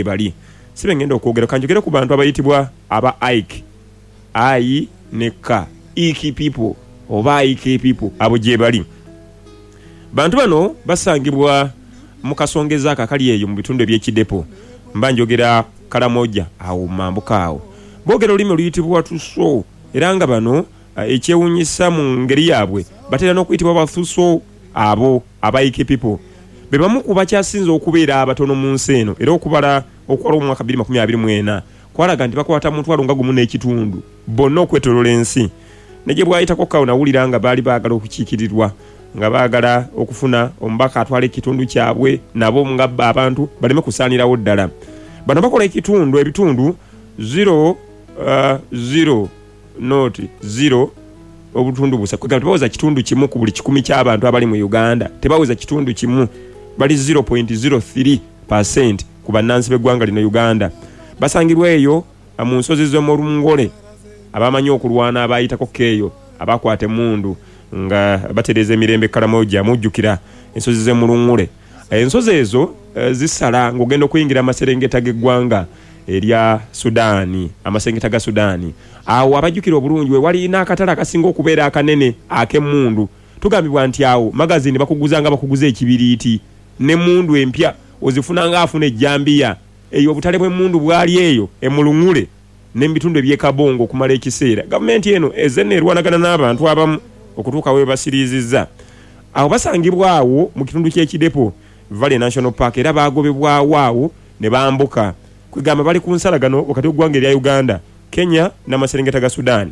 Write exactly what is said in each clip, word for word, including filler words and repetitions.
Bali sibe ngenda okwogera, kanjogere ku bantu abayitibwa aba Ike, I ne K, Iki people oba Ike people. Abo gye bali. Bantu bano basangibwa mu kasongeza ako akali eyo mu bitundu eby'Ekidepo, mba njogera Kalamoja awo mambuka awo. Boogera olulimi oluyitibwa Tuso, era nga bano ekyewuunyisa mu ngeri yaabwe batera n'okuyitibwa Bathuso. Abo aba Ike people be bamu ku bakyasinze okubeera abatono mu nsi eno, era okubala okwala omwaka bbiri makumi abiri mu ena kwalaga nti bakwata mutwalo nga gumu n'ekitundu bonna okwetooloola ensi. Ne gye bwayitako kawo nawulira nga baali baagala okukiikirirwa, nga baagala okufuna omubaka atwala ekitundu kyabwe, nabo nga abantu baleme kusaanirawo ddala. Bano bakola ekitundu ebitundu zero, uh, zero not zero obutundu busa, kwegamba tebaweza kitundu kimu ku buli kikumi ky'abantu abali mu Uganda, tebaweza kitundu kimu, bali zero point zero three percent ku bannansi b'eggwanga lino Uganda. Basangibwa eyo mu nsozi z'Omulungole, abamanyi okulwana abayitako keeyo abakwata emmundu nga batereeza emirembe Kalamoja. Mujjukira ensozi z'Emulungule. Ensozi ezo zisala ng'ogenda okuyingira amaserengeta g'eggwanga erya Sudaani, amaserengeta ga Sudaani. Awo abajjukira obulungi we wali n'akatale akasinga okubeera akanene ak'emmundu. Tugambibwa nti awo magazini bakuguza nga bakuguza ekibiriiti, n'emmundu empya ozifuna ng'afuna ejjambiya. Eyo obutale bw'emmundu bwali eyo Emulungule n'ebitundu eby'e Kabongo okumala ekiseera. Gavumenti eno ezze n'erwanagana n'abantu abamu okutuuka we basiriizizza. Awo basangibwa awo mu kitundu ky'Ekidepo Valley National Park, era baagobebwawo awo ne bambuka. Kwegamba bali ku nsalagano wakati w'eggwanga erya Uganda, Kenya n'amaserengeta ga Sudan.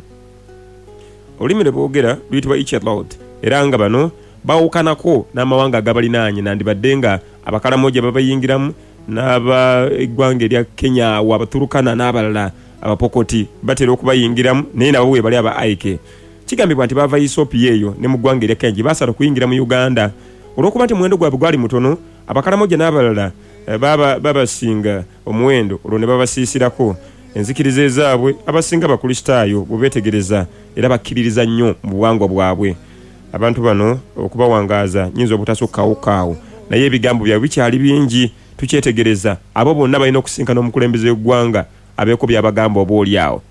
Olulimi lwe boogera luyitibwa Ichelot, era nga bano bawukanako n'amawanga agabalinaanye, nandibadde nga Abakalamoja babayingiramu n'aba eggwanga erya Kenya awo Abaturukana n'abalala Abapokoti batera okubayingiramu, naye nabo we bali aba Ike. Kigambibwa nti baava Ethiopia eyo ne mu ggwanga erya Kenya gye baasala okuyingira mu Uganda. Olw'okuba nti omuwendo gwabwe gwali mutono, Abakalamoja n'abalala baba babasinga omuwendo, olwo ne babasiisirako. Enzikiriza ezaabwe abasinga Bakristaayo bwe beetegereza, era bakkiririza nnyo mu buwangwa bwabwe. Abantu bano okubawangaaza nnyinza obutasukkawo awo, naye ebigambo byabwe bikyali bingi, tukyetegereza. Abo bonna balina okusinkana omukulembeze w'eggwanga abeeko by'abagamba oba oli awo.